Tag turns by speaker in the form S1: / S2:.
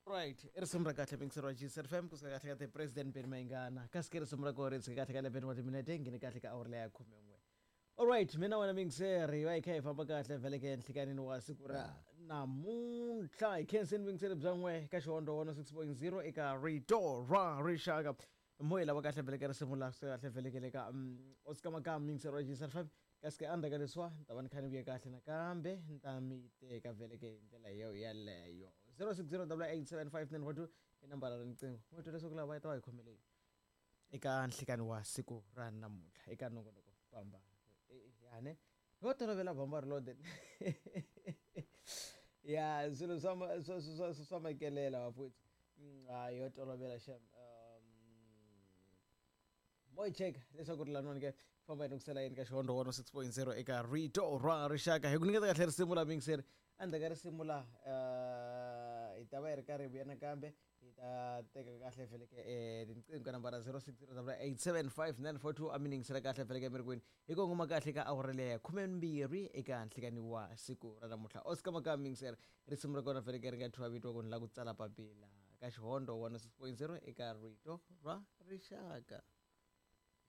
S1: Right, i risimu ra kahle mingisero wa GCR FM kusuka kahle ka the president Benny Mayengana kasi ke risimu ra kona ri tshike kahle ka 11 wa timinete nghene kahle ka awara leya 11. Alright, mina wena mingiseri va hi kha hi famba kahle vhele ke nhlikanini wa siku ra namuntlha hi khenseni vingiseri bya n'we ka Xihondo 106.0 eka Rito ra Rixaka. Mo hi lava kahle vhele ka risimu la kusuka kahle vhele ke le ka Oscar Makam mingiseri wa GCR FM kasi ke endzhaku ka leswiwa ni ta va ni kha ni vuye kahle nakambe ni ta mi teka vhele ke hi ndlela yo yeleyo. 0608875942 i nambara ra riqingho. Mo twa leswaku lava va ta va hi khomele yini eka nhlikani wa siku ra namuntlha eka nongonoko bamba yane ho tolovela bamba reloaded ya swilo swa swa swa makelela bafowethu. Hayi yo tolovela xem. Mo hi cheka leswaku ri laniwani ke famba hi nukusela yini ka Xihondo 106.0 eka Rito ra Rixaka hi ku nyiketa kahle risimu la mingiseri. Endzhaku ka risimu la hi ta va hi ri karhi hi vuya nakambe hi ta teka kahle vhele ke tinqingho ka nambara 0608875942 a mi ningisela kahle vhele ke mi ri kwini hi kongoma kahle ka awara leya 12 eka nhlikani wa siku ra namuntlha. Oscar Makam mingiseri risimu ra kona vhele ke ri nga thyiwa vito ku ni la ku tsala papila ka Xihondo 106.0 eka Rito ra Rixaka.